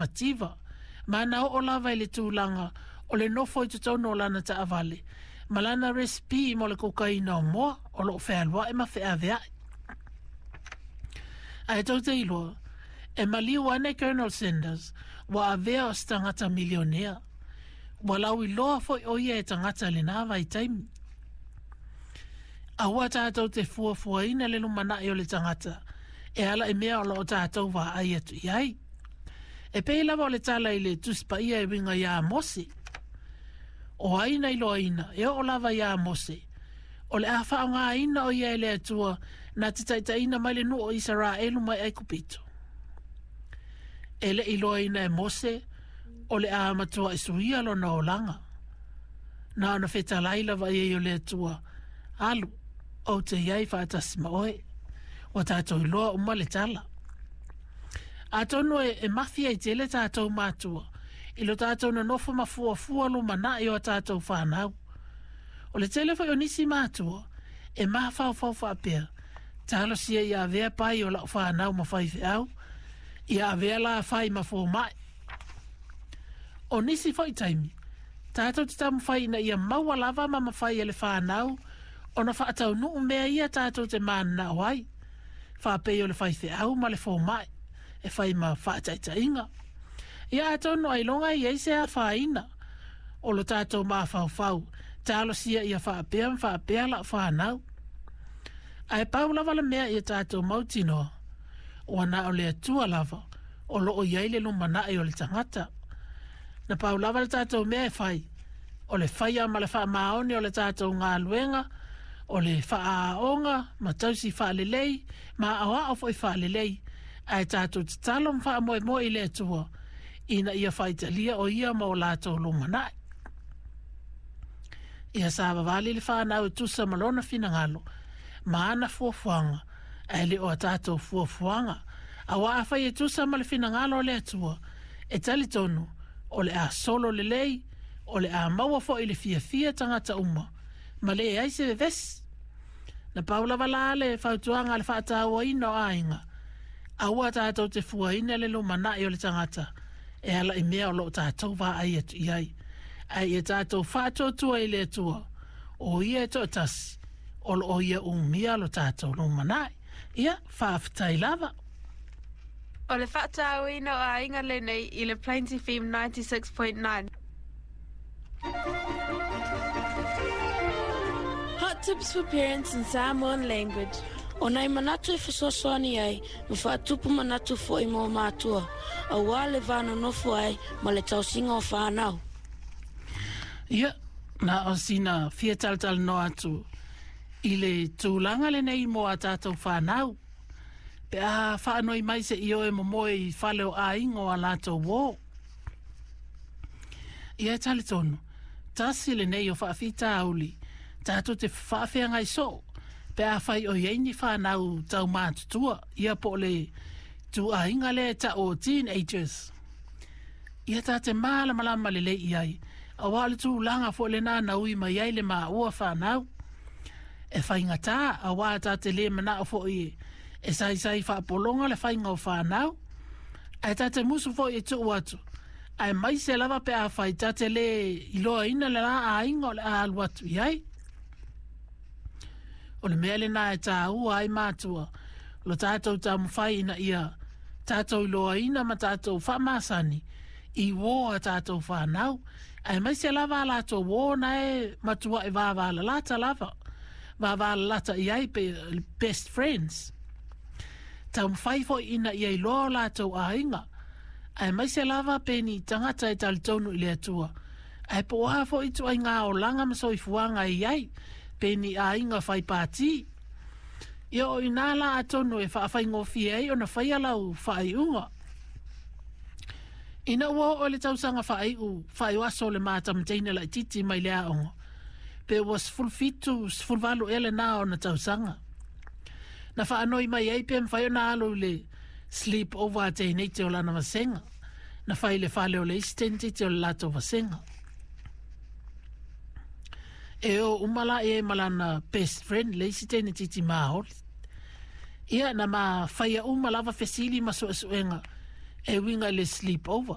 Mativa, ma na oo lava i le tulaga o le nofo i totonu o lana taavale ma lana resipi mo le kokaina o moa o lo o fealuai ma feaveai. Ae tou te iloa, e maliu ane Colonel Sanders ua avea o se tagata milionea. Ua lauiloa foi o ia e tagata i lena vaitaimi. Aua tatou te fuafuaina le lumanai o le tagata e ala i mea o lo o tatou vaai atu i ai. E pei lava o le tala i le Tusi Paia e uiga iā Mose. O ai na iloaina, e oo lava iā Mose, o le a faaaogaina o ia e le Atua na te taitaiina mai le nuu o Isaraelu mai Aikupito. E le i iloaina e Mose o le a matuai suia lona olaga. Na ona fetalai lava i ai o le Atua, Alu, ou te i ai faatasi ma oe. Ua tatou iloa uma le tala. Atonu e mafi ai tele tatou matua i lo tatou nonofo ma fuafua lumanai o a tatou fanau. O le tele foi o nisi matua e mafaufau faapea, talosia ia avea pai o lau fanau ma faifeau, ia avea la fai ma fomai. O nisi foi taimi, tatou te taumafai ina ia maua lava ma mafai e le fanau ona faataunuu mea ia tatou te mananao ai, faapei o le faifeau ma le fomai e fai ma faataitaiga. Ia atonu ailoga e i ai se afaina o lo tatou mafaufau, talosia ia faapea ma faapea lau fanau. Ae pau lava le mea ia tatou mautinoa, ua na o le Atua lava o lo o i ai le lumanai o le tagata. Na pau lava le tatou mea e fai, o le faia ma le faamaoni o le tatou galuega, o le faaaoga ma tausi faalelei ma aoao foi faalelei, ae tatou tatalo ma faamoemoe i le Atua ina ia faitalia o ia ma o latou lumanai. Ia savavali le fanau e tusa ma lona finagalo ma ana fuafuaga, ae le o a tatou fuafuaga. Aua afai e tusa ma le finagalo o le Atua, e talitonu o le a solo lelei, o le a maua foi le fiafia tagata uma, ma leai se vevesi. Na pau lava la le fautuaga a le faatauaina o aiga, aua tatou te fuaina le lumanai o le tagata e ala i mea o lo o tatou vaai atu i ai, ae ia tatou faatuatua i le Atua, o ia e toatasi o lo o ia umia lo tatou lumanai. Ia, faafetai lava. O le faatauaina o aiga lenei i le Plains FM 96.9. Hot tips for parents in Samoan language. O nai manatu e fesoasoani ai ma faatupu manatu foi mo matua, aua le va nonofo ai ma le tausiga o fanau. Ia, na o sina fia talatalanoa atu i le tulaga lenei mo a tatou fanau. Pe a faanoi mai se'i o e momoe i fale o aiga o a latou uō. Ia e talitonu, tasi lenei o faafitauli tatou te faafeagai soo pe afai o i ai ni fanau taumatutua, ia po o le ituaiga lea e tau o teenagers. Ia ta te malamalama lelei i ai, aua o le tulaga foi lena na ui mai ai le maua fanau. E faigata, aua ta te le manao foi e saisai faapologa le faiga o fanau, ae ta te musu foi e tuu atu, aemaise lava pe afai ta te le iloaina le la aiga o le a alu atu i ai. O le mea lena e tāua ai matua, lo tatou taumafai ina ia tatou iloaina ma tatou faamasani i uō a tatou fanau, aemaise lava a latou uō na e matuai vavalalata lava, vavalalata i ai pe best friends. Taumafai foi ina ia iloa o latou aiga, aemaise lava pe ni tagata e talitonu i le Atua, ae po o a foi ituaiga olaga ma soifuaga e i ai, pe ni aiga fai pātī. Ia o i inā la atonu e faafaigofie ai ona faia lau faaiuga. Ina ua oo i le tausaga faaiu faaiuaso o le matamateina laitiiti mai le aoga, pe ua 17, 18 ea lena ona tausaga. Na faanoi mai ai pe mafai ona alu i le sleep over a teineiti o lana vasega. Na fai i le fale o le isi teinetiti o le latou vasega. E o uma la i ai ma lana best friend le isi teinetiti maoli. Ia, na ma faia uma lava fesili ma suesuega. E uiga i le sleep over.